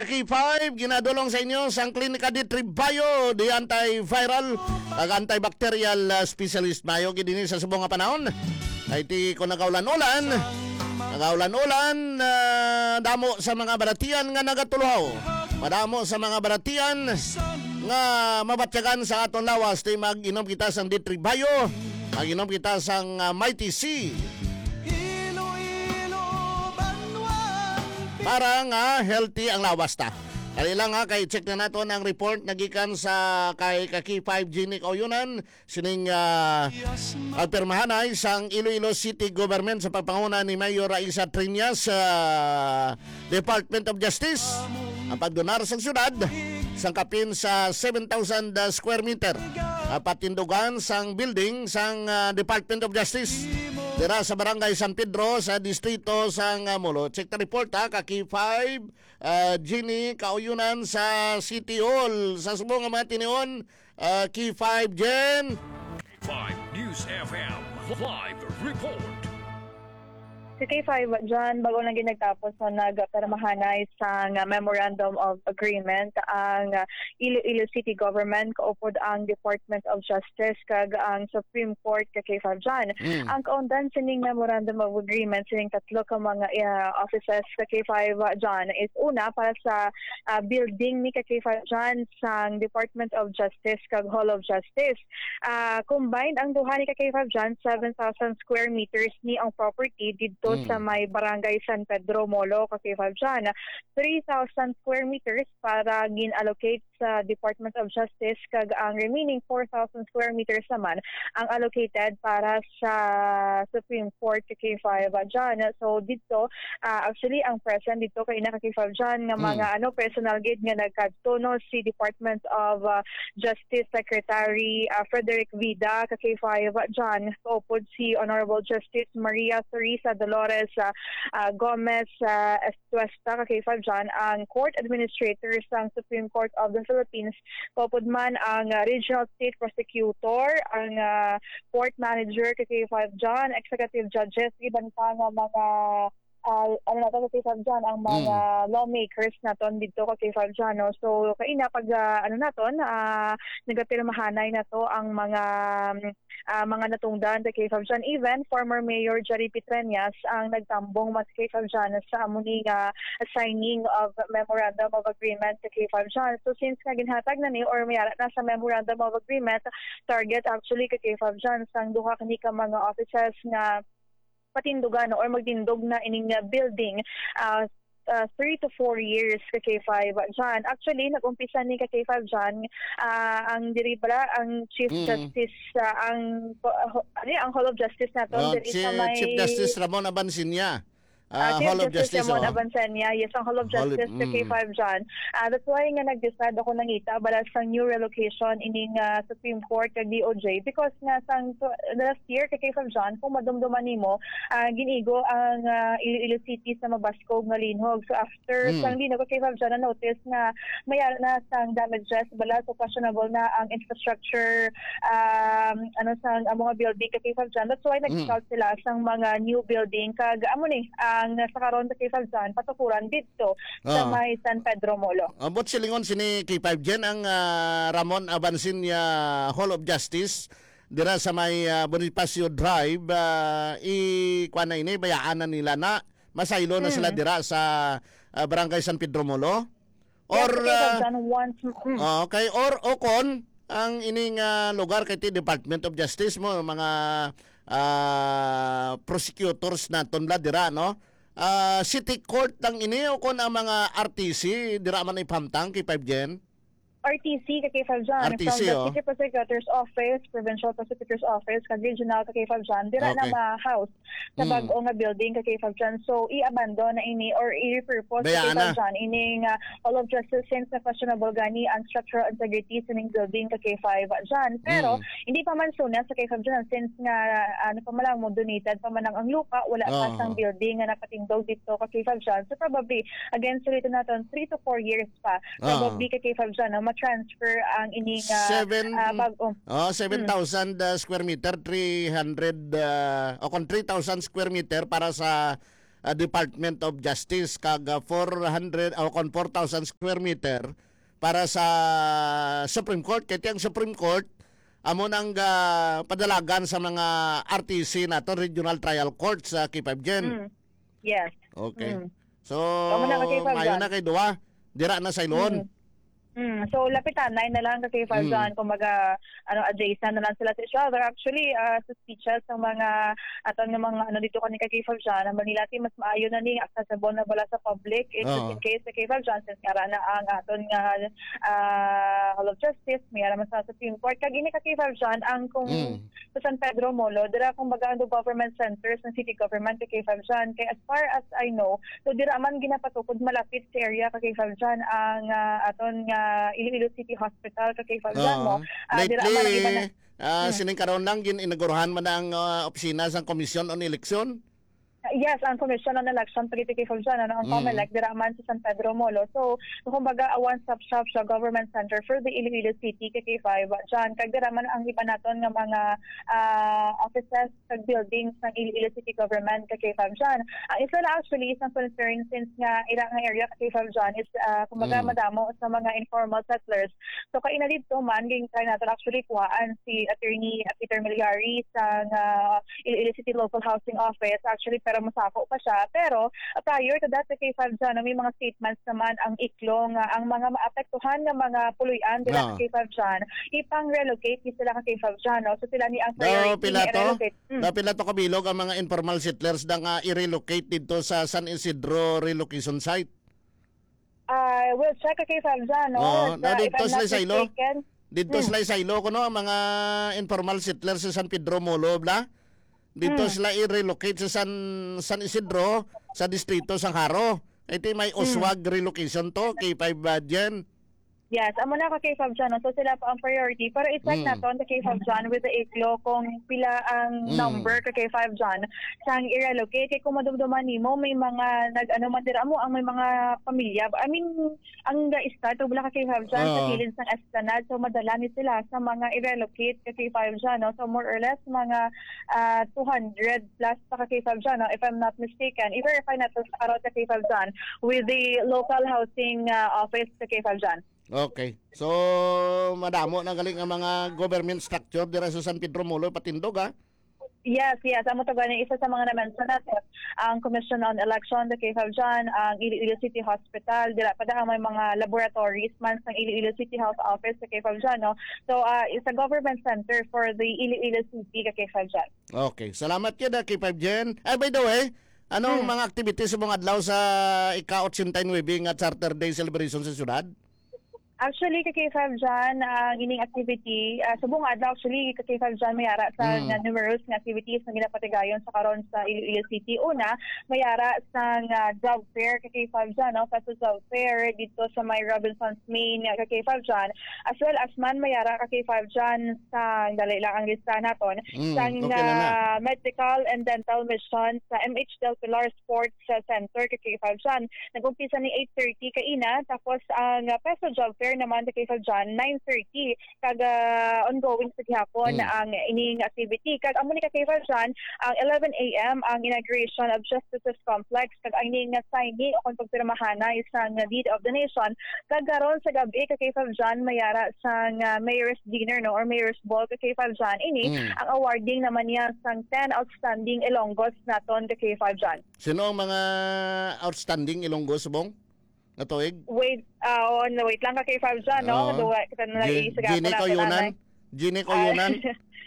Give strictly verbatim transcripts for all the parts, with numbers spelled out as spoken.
K five, ginadulong sa inyo sang Klinika D three Bio, the antiviral kag antibacterial, ah, specialist. Maayo gid ini sa subong nga panahon. Kay ti kon nagaulan-ulan, nagaulan-ulan, ah, damo sa mga balatian nga nagatuluhaw. Madamo sa mga balatian nga mabatyagan sa aton lawas, ti mag-inom kita sang D three Bio, mag-inom kita sang, ah, Mighty C. Iloilo, Banwa, para nga healthy ang lawas ta. Dali lang ha, kay check na naton ang report na gikan sa kay ka K five Jeannie Kauyonan, sining, ah, pagpirmahanay sang Iloilo City Government sa pagpanguna ni Mayor Raisa Triñas sa Department of Justice ang pagdonar sa syudad sang kapin sa seven thousand square meter, ah, patindugan sang building sang, ah, Department of Justice dira sa Barangay San Pedro sa distrito sang, ah, Molo. Check the report, ha, ka K five, ah, Jeannie Kauyonan sa City Hall. Sa subong nga mga tinion, ah, K five Jen. Five News F M live report. Si K five Jan, bago lang gid nagtapos, no, nagpirmahanay sang Memorandum of Agreement ang Iloilo City Government kaupod ang Department of Justice kag ang Supreme Court ka K five Jan. Mm. Ang kaundan sining Memorandum of Agreement sining tatlo ka mga, ah, offices ka K five Jan is una para sa, ah, building ni ka K five Jan sang Department of Justice kag Hall of Justice. Ah, combined ang duha ni ka K five Jan, seven thousand square meters ni ang property didto Mm. sa may Barangay San Pedro Molo ka K five Jan. Three thousand square meters para gin-allocate sa Department of Justice kag ang remaining four thousand square meters naman ang allocated para sa Supreme Court ka K five Jan. So dito, ah, actually ang present dito kay na ka K five Jan nga Mm. mga ano personal gid nga nagkadto, no, si Department of, ah, Justice Secretary, ah, Frederick Vida ka K five Jan, kaupod si Honorable Justice Maria Teresa Dolores, ah, ah, Gomez, ah, Tuesta ka K five Jan ang court administrator sang Supreme Court of the Philippines, kaupod man ang, ah, regional state prosecutor, ang, ah, court manager ka K five Jan, executive judges, iban pa nga mga, ah, ano nato ka K five Jan, ang mga Mm. lawmakers naton dito ka K five Jan, no? So, kaina pag, ah, ano naton, ah, nagapirmahanay na to ang mga, ah, mga natungdan sa K five Jan. Even former Mayor Jerry Petreñas ang nagtambong mas K five Jan sa amo ni nga signing of Memorandum of Agreement sa K five Jan. So since nga ginhatag na ni or may ara na sa Memorandum of Agreement, target actually ka K five Jan sang duha kini ka mga offices nga patindugan or magtindog na ining, ah, building, ah, ah, three to four years ka K five Jan. Actually, nag-umpisa ni ka K five Jan, ah, ang diri bala, ang Chief Mm. Justice, ah, ang, ah, ho-, ano yun, ang Hall of Justice naton Oh, diri si sa may Chief Justice Ramon Abansiña. Ah, Ah, Chief Hall of Justice Justice, Ramon oh. Abansiña. Yes, ang Hall of Hall of, Justice sa mm. K five Jan. Ah, that's why nga nag-decide ako nangita bala sa new relocation ining, ah, Supreme Court kag D O J because nga sang tw-, last year ka K five Jan, kung madumduman nimo, ah, ginigo ang, ah, Iloilo City sa mabaskog nga linhog. So after Mm. sang linhog ka K five Jan, na-notice nga may ara na sang damages bala, so questionable na ang infrastructure, um, ano, sang, ang mga building ka K five Jan. That's why Mm. nag-scout sila sang mga new building kag amo ni ang sa karon ka K five Jan patukuran didto sa Ah. may San Pedro Molo. Ambot silingon sini K five Jan ang, ah, Ramon Abansiña Hall of Justice dira sa may, ah, Bonifacio Drive, ah, i-, kuwan na ini, bayaan na nila na masaylo na sila Mm. dira sa, ah, Barangay San Pedro Molo? Yes, Or, okay, ah, Captain, once, mm. Ah, okay. Or, o kon, ang ining, ah, lugar kay ti Department of Justice mo, mga, ah, prosecutors naton bala dira, no? Ah, City Court lang ini o kon ang mga R T C dira man ipamtang kay five Gen? R T C ka kay five Jan, R T C, from the oh. City Prosecutor's Office, Provincial Prosecutor's Office, kag Regional ka kay five Jan, dira na Okay. ma-house sa Mm. bag-o nga building ka kay five Jan. So, i-abandon na ini or i-repurpose ka Bayaan kay five na. Jan ining, ah, Hall of Justice since na questionable gani ang structural integrity sining building ka kay five Jan. Pero, Mm. hindi pa man suna sa kay five Jan since nga, ah, ano pa man lang mo, donated pa man lang ang lupa, wala pa Oo. sang building nga nakatindog dito ka kay five Jan. So, probably, again, suliton naton, three to four years pa. Ah. Probably ka kay five Jan, no, ma-transfer ang ining, ah, Seven, ah, bag-o. Oh, Mm. seven thousand, ah, square meter, three hundred, ah, o kung three thousand square meter para sa, ah, Department of Justice, kag, ah, four hundred, o kon four thousand square meter para sa Supreme Court. Kay ang Supreme Court, amo nang, ah, padalagan sa mga R T C nato, Regional Trial Court sa K five Gen. Mm. Yes. Okay. Mm. So, Amo na, K five Jan. Maayo na kay duha. Dira na sa Iloon. Mm. Mm. So, lapitanay na lang ka K five Mm. Jan. Kumbaga, ano, adjacent na lang sila sa each other. Actually, ah, sa speeches ng mga, aton nga mga, ano, dito kani ka K five Jan, ang Manila Team, mas maayo na ni, accessible na bala sa public. It's just Oo. in case sa K five Jan, since nga ra na ang aton nga, ah, Hall of Justice, may ara man sa Supreme Court. Kag ini ka K five Jan, ang kung Mm. sa San Pedro Molo, dira, kumbaga, ang government centers ng city government ka K five Jan. Kay as far as I know, so dira man ginapatukod malapit sa area ka K five Jan ang, ah, aton nga Iloilo City Hospital ka K five Jan, no? Oo. Ah, dira man ang iba na Lately, ah, Hmm. sining karon lang gin-inauguruhan man ang, ah, opisina sang Commission on Election. Yes, ang Commission on Election, pagiti K five Jan, ano, ang Mm. COMELEC, dira man sa San Pedro Molo. So, kumbaga, a one-stop shop siya, government center for the Iloilo City, ka K five Jan. Kag dira man ang iba naton nga mga, ah, offices kag buildings ng Iloilo City Government, ka K five Jan. Ang isa na actually, isang concern since nga ira nga area, ka K five Jan, is, ah, kumbaga, Mm. madamo sa mga informal settlers. So, kaina dito man, ging-try natin actually kuhaan si Attorney Peter Milyari sa nga Iloilo City Local Housing Office, actually, pero masako pa siya. Pero, uh, prior to that, sa K five Jan, may mga statements naman ang iklo nga ang mga maapektuhan nga mga puloy-an dira sa Ah. K five Jan, ipang-relocate ni sila ka K five Jan, no? So, sila ni ang Daw priority pila nga to? i-relocate. Mm. Daw pila to kabilog ang mga informal settlers na nga i-relocate dito sa San Isidro relocation site? I will check, okay, Fabza, no? Oo, Sa, na if dito I'm sila not sa ilo. mistaken. Dito Hmm. sila sa ilo, kuno ang mga informal settlers sa San Pedro Molo, bla? Dito Hmm. sila i-relocate sa San, San Isidro, sa distrito sang Jaro. Ito may Hmm. Oswag relocation to, K five, uh, Jen. Yes, amo na ka K five John, no? So sila pa ang priority. Pero i-check Hmm. naton sa K five John with the iklo kung pila ang Hmm. number ka K five John sang i-relocate. Kay kung madumduman nimo, may mga nag-ano man dira mo, ang may mga pamilya. I mean, ang ga-start, wala ka K five John, sa Oo. kilid sang Esplanade. So madala ni sila sa mga i-relocate ka K five John, no? So more or less, mga, ah, two hundred plus pa ka K five John, no? If I'm not mistaken. I-verify nato sa karot ka K five John with the local housing, ah, office ka K five John. Okay. So, madamo na galing ang mga government structure dira sa San Pedro Molo, patindog, ha? Yes, yes. Amo to gani, isa sa mga na-mention natin, ang Commission on Election, the K five John, ang Iloilo City Hospital, dira pa dahang may mga laboratories man sa Iloilo City Health Office, the K five John, no? So, ah, it's a government center for the Iloilo City, the K five John. Okay. Salamat gyud, ah, K five Jen. Ay, by the way, anong Hmm. mga activities sa mga adlaw sa ika-ochenta y nuebe nga Charter Day celebration sa syudad? Actually, ka K five John, ang ining activity, ah, subong nga adlaw, actually, ka K five John, may ara sa Hmm. nga numerous nga activities nga ginapatigayon sa karon sa Iloilo City. Una, may ara sa nga job fair, ka K five John, no? Sa job fair dito sa may Robinson's Main, ka K five John. As well as man, may ara, ka K five John, sa, dali lang ang lista naton, Mm, sang, okay na na. ah, medical and dental mission sa M H Del Pilar Sports, ah, Center, ka K five John. Nag-umpisa ni eight thirty kaina, tapos ang, ah, Peso Job Fair naman, ka K five John, nine thirty. Kag, ah, ongoing sa gihapon Mm. ang ining activity. Kag amo ni ka K five John, ang eleven A M ang inauguration of Justices Complex, kag ang ining signing o kung pagpirmahan na isang deed of donation. Kag karon sa gabi, ka K five John, may ara sang, ah, Mayor's Dinner, no, or Mayor's Ball, ka K five John. Ini, Mm. ang awarding naman niya sang ten outstanding Ilonggos naton, ka K five John. Sino ang mga outstanding Ilonggos, Bong? Nga tuig? Wait, ah, oh, no, wait lang, ka K five John, no? Oo. Duwa, kita na lang Gi-, isagapo Gini natin, Koyunan? nanay. Gini Ah, Koyunan?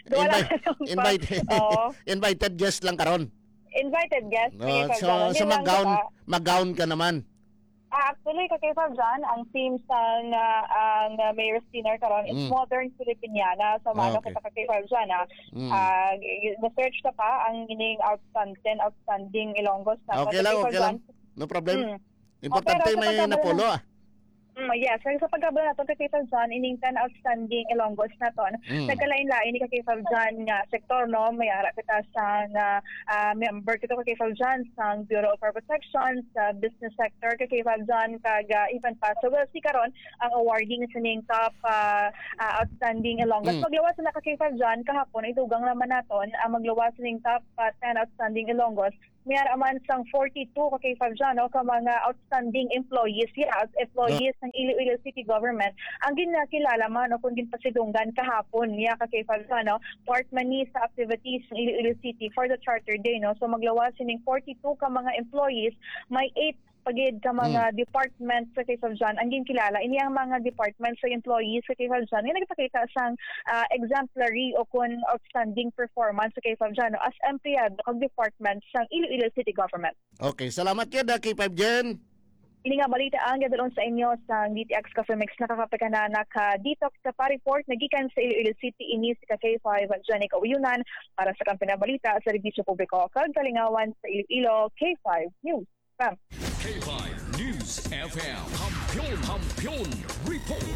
duwa lang Invite, ang invite, Oo. invited guest lang karon. Invited guest, No, K five so, John. so Hindi lang mag-gown, kita. mag-gown ka naman. Ah, actually, ka K five John, ang theme sang, ah, ang, ah, Mayor's Dinner karon is Mm. Modern Filipiniana. So, Ah, maano okay. kita, ka K five John, ah. Mm. Ah, i-, i-search ka pa ang ining outstanding, outstanding Ilonggos na Okay lang, ka K five okay lang. John. No problem. Mm. Importante Oh, pero sa may pagkabalo napulo, na ah. Mm, yes. Kaya sa pagkabalo naton, ka K five John, ining ten outstanding Ilonggos naton, Mm. nagkalain-lain ni ka K five John nga sektor, no? May ara kita sa nga, ah, member kita, ka K five John, sa Bureau of Fire Protection, sa business sector, ka K five John, kag, ah, even pa. So, we'll see karon ang awarding sa ning top, ah, ah, outstanding Ilonggos. Mm. Magluwas na, ka K five John, kahapon, ay dugang naman naton ang magluwas sa ning top, ah, ten outstanding Ilonggos. May ara man sang forty-two ka K five dyan, no, ka mga outstanding employees, yeah, as employees ng Iloilo City Government ang ginakilala man o kung ginpasidunggan kahapon niya ka K five dyan, no, part man ni sa activities ng Iloilo City for the Charter Day, no. So maglawas sining forty-two ka mga employees, may eight pagid ka mga department sa K five dyan ang ginkilala. Ini ang mga department sa employees sa K five dyan nga nagpakita sang ah, exemplary o kun outstanding performance sa K five dyan, no, as empleyado kag department sang Iloilo City Government. Okay, salamat gyud, ah, K five Jen. Ini nga balita ang gadalon sa inyo sa D T X Coffee Mix. Nakakapagkanana ka detox sa pa-report nagikan sa Iloilo City, ini si ka K five Jenny Kauyunan para sa Kampiyon nga Balita sa Serbisyo Publiko kag Kalingawan sa Iloilo, K five News. Ma'am. K five News F M. Kampiyon, Kampiyon Report.